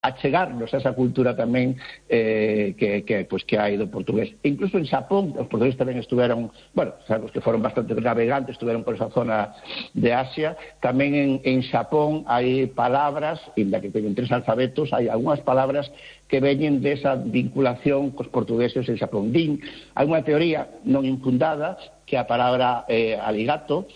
achegarnos a esa cultura tamén que hai do portugués. E incluso en Xapón, os portugueses tamén estuveron, bueno, sabemos que foron bastante navegantes, estuveron por esa zona de Asia, tamén en Xapón hai palabras, inda que teñen 3 alfabetos, hai algunhas palabras que veñen desa vinculación cos portugueses en Xapón. Hai unha teoría non infundada que a palabra aligato,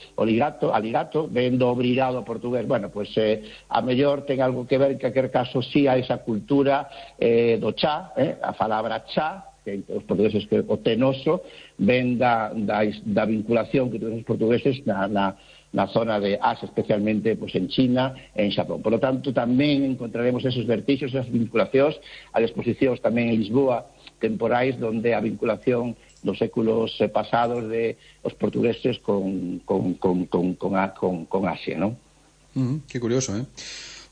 ven do obrigado portugués. Bueno, pois a mellor ten algo que ver, en calquer caso, si a esa cultura do chá, a palabra chá, que os portugueses que o tenoso, ven da vinculación que tuvieron os portugueses na zona de Asia, especialmente pues, en China e en Xapón. Por lo tanto, tamén encontraremos esos vertixos, esas vinculacións, as exposicións tamén en Lisboa, temporais, donde a vinculación dos séculos pasados de os portugueses con Asia, ¿no? Que curioso, ¿eh?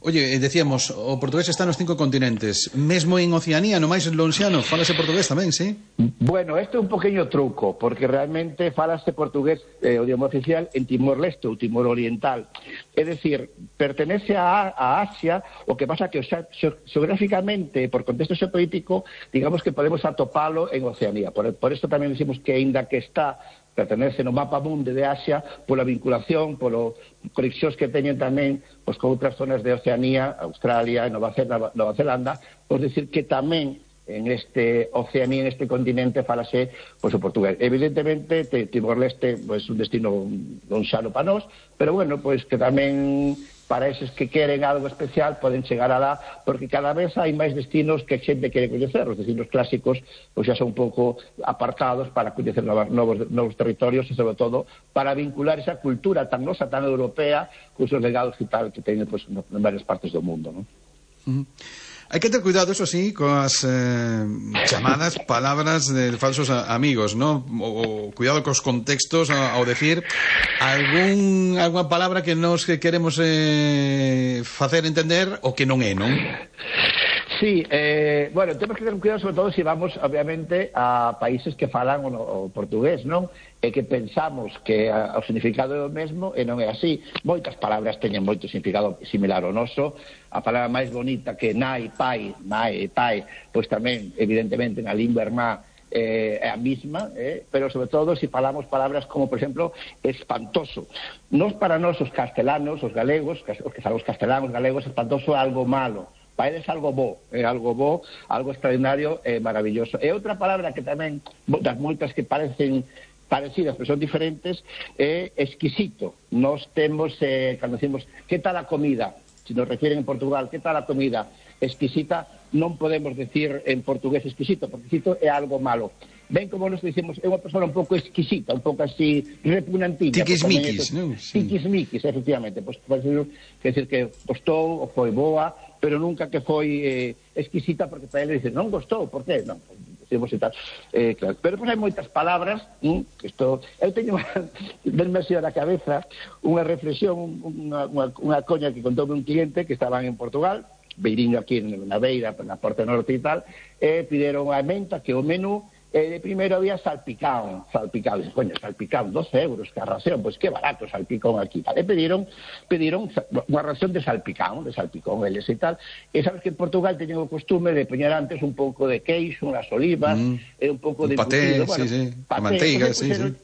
Oye, decíamos, o portugués está nos 5 continentes, mesmo en Oceanía, no máis lonxiano, falase portugués tamén, sí? Bueno, este é un poqueño truco, porque realmente falase portugués, o idioma oficial, en Timor-Leste ou Timor Oriental. É dicir, pertenece a Asia, o que pasa que xeográficamente, por contexto xeopolítico, digamos que podemos atopalo en Oceanía. Por isto tamén decimos que, ainda que está pertenece no mapa mundo de Asia pola vinculación, polo conexións que teñen tamén pois, con outras zonas de Oceanía, Australia, Nova Zelanda, pois decir que tamén en este Oceanía, en este continente, falase pois, o portugués. Evidentemente, Timor-Leste é un destino non xano para nós, pero bueno, pois que tamén para eses que queren algo especial poden chegar alá, porque cada vez hai máis destinos que a xente quere coñecer. Os destinos clásicos pois xa son un pouco apartados para coñecer novos territorios e, sobre todo, para vincular esa cultura tan nosa, tan europea, con os legados e tal que teñen pois, en varias partes do mundo, non? Hai que ter cuidado, eso sí, coas chamadas palabras de falsos amigos, ¿no? O cuidado cos contextos ao decir algunha palabra que nos queremos facer entender o que non é, non? Sí, bueno, temos que ter cuidado sobre todo se vamos, obviamente, a países que falan o portugués, non? E que pensamos que o significado é o mesmo e non é así. Moitas palabras teñen moito significado similar ao noso. A palabra máis bonita que nai, pai, pois tamén, evidentemente, na lingua irmá é a mesma, pero sobre todo se falamos palabras como, por exemplo, espantoso. Nos para nós, os castelanos, os galegos, os que falamos castelanos, galegos, espantoso é algo malo. Para eles algo bo, algo extraordinario e maravilloso. E outra palabra que tamén, das moitas que parecen parecidas, pero son diferentes, é exquisito. Nós temos, cando decimos, que tal a comida? Se nos refieren en Portugal, que tal a comida? Exquisita, non podemos decir en portugués exquisito, porque exquisito é algo malo. Ben como nos dicimos, é unha persona un pouco exquisita, un pouco así repugnantilla. Tiquismiquis, non? Tiquismiquis, efectivamente. Pois pode decir que gostou ou foi boa, pero nunca que foi exquisita, porque para ele dice, non gostou, por que? Non, e tal. Claro. Pero depois hai moitas palabras, eu teño denme así a la cabeza unha reflexión, unha coña que contoume un cliente que estaban en Portugal, beiriño aquí na beira, na Porta Norte e tal, e pideron a menta que o menú primeiro había salpicón, dice, coño, salpicón, 12 euros que a ración, pois que barato salpicón aquí, e pediron unha ración de salpicón eles e tal, e sabes que en Portugal teñen o costume de poñer antes un pouco de queixo, unhas olivas, e un pouco de paté, bueno, sí, paté, manteiga,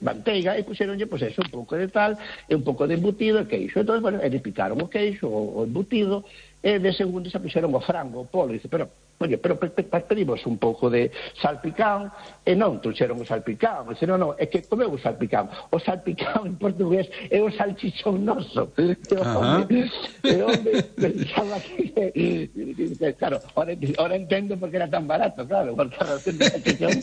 manteiga, e puxeronlle, pois eso, un pouco de tal, e un pouco de embutido e queixo, entón, bueno, eles picaron o queixo, o embutido, e de segundo se puxeron o frango, o polo, e dice, pero pedimos un pouco de salpicón, e non trouxeron o salpicón, e non, é que comeu o salpicón. O salpicón en portugués é o salchichón noso. E onde pensaba que, claro, ahora entendo porque era tan barato, claro, porque a razón de salchichón,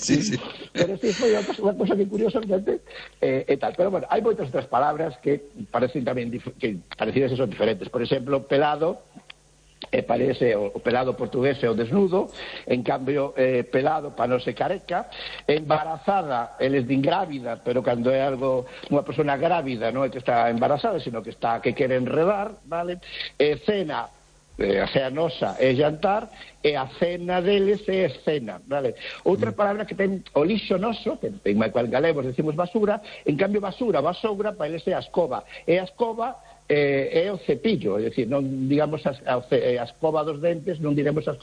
pero sí, foi unha cosa que curiosamente, e tal. Pero bueno, hai moitas outras palabras que parecen tamén parecidas e son diferentes. Por exemplo, pelado, parece o pelado portugués é o desnudo, en cambio pelado para non ser careca. Embarazada, eles din grávida, pero cando é algo, unha persona grávida non é que está embarazada, sino que quere enredar, vale? Cena, a cea nosa é jantar, e a cena deles é escena, vale? Outra palabra que ten o lixo noso, que en galegos decimos basura, en cambio basoura, para eles é a escoba, e a escoba é o cepillo, é dicir, non digamos a escova dos dentes, non diremos as